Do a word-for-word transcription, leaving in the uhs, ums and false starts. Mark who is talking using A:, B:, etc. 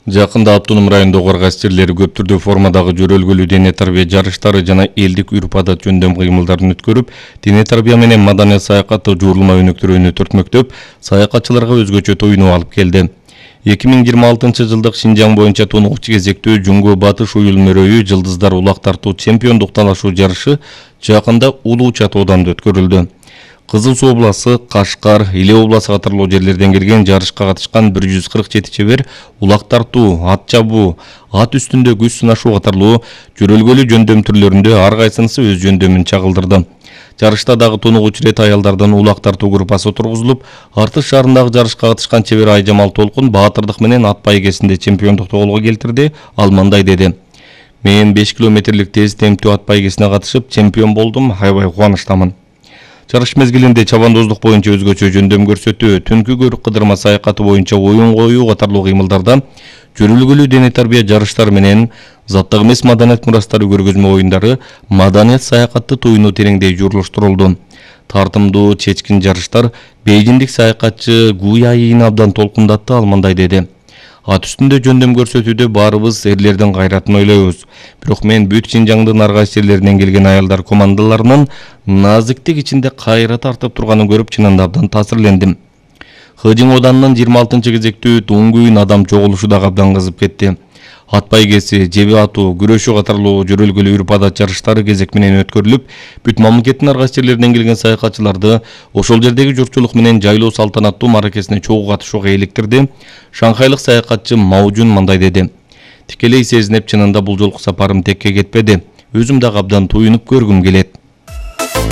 A: Жакында Автоном районундагы арга сирлери көп түрдүү формадагы жөрөлгөлүү дене тарбия жарыштары жана элдик үрп-адат жөндөм кыймылдарын өткөрүп, дене тарбия менен маданият саякаты жуурулма өнөктөрүнү төртмөктөп, саякатчыларга өзгөчө тоюну алып келди. эки миң жыйырма алтынчы жылдык Шинжаң боюнча тонугуч кезектүү Жуңго Батыш уюл мөрөйү жылдыздар улак тартуу чемпиондук талашуу жарышы жакында Улуу Чатоодан өткөрүлдү. Кызыл Суу обласы, Кашкар, Иле обласы катарлуу жерлерден келген жарышка катышкан бир жүз кырк жети чебер улак тартуу, ат чабуу, ат үстүндө күч сынашуу катарлуу жөрөлгөлүү жөндөм түрлөрүндө ар кайсынысы өз жөндөмүн чагылдырды. Жарышта дагы тонугуч ирет аялдардан улак тартуу группасы отургузулуп, Артыш шаарындагы жарышка катышкан чебер Айжамал Толкун баатырдык менен ат байгесинде чемпиондукту колго келтирди. Ал мындай деди: "Мен беш километрлик тез темптүү ат байгесине катышып чемпион болдум, аябай кубанычтамын." Жарыш мезгилинде чабандоздук боюнча өзгөчө жөндөм көрсөтүү, түнкү көрүк кыдырма саякаты боюнча оюн коюу катарлуу кыймылдарда, жөрөлгөлүү дене тарбия жарыштары менен заттык эмес маданият мурастары көргөзмө оюндары маданият саякатты туюну тереңдей жуурулуштурулду. Тартымдуу чечкин жарыштар бейжиндик саякатчы Гуяйин абдан толкундатты. Ал мындай деди: "Ат үстүндө жөндөм көрсөтүүдө баарыбыз эрлердин кайратын ойлойбуз. Бирок мен бүт Шинжаңдын ар кайсы жерлеринен келген аялдар командаларынын назиктик ичинде кайра тартып турганын көрүп чынында абдан таасирлендим." Хыжың оданынын жыйырма алтынчы кезектүү Туңгуйн адам чогулушу дагы абдан кызып кетти. Ат байгеси, жеби атуу, күрөшүү катарлуу жөрөлгөлүү үрп-адат жарыштары кезек менен өткөрүлүп, бүт мамлекеттин ар кайсы жерлеринен келген саякатчыларды ошол жердеги журтчулук менен жайлоо салтанаттуу мааракесине чогуу катышууга иликтирди. Шанхайлык саякатчы Маужун мындай деди: "Тикелей сезинеп, чынында бул жолку сапарым текке кетпеди. Өзүм дагы абдан туюнуп көргүм келет."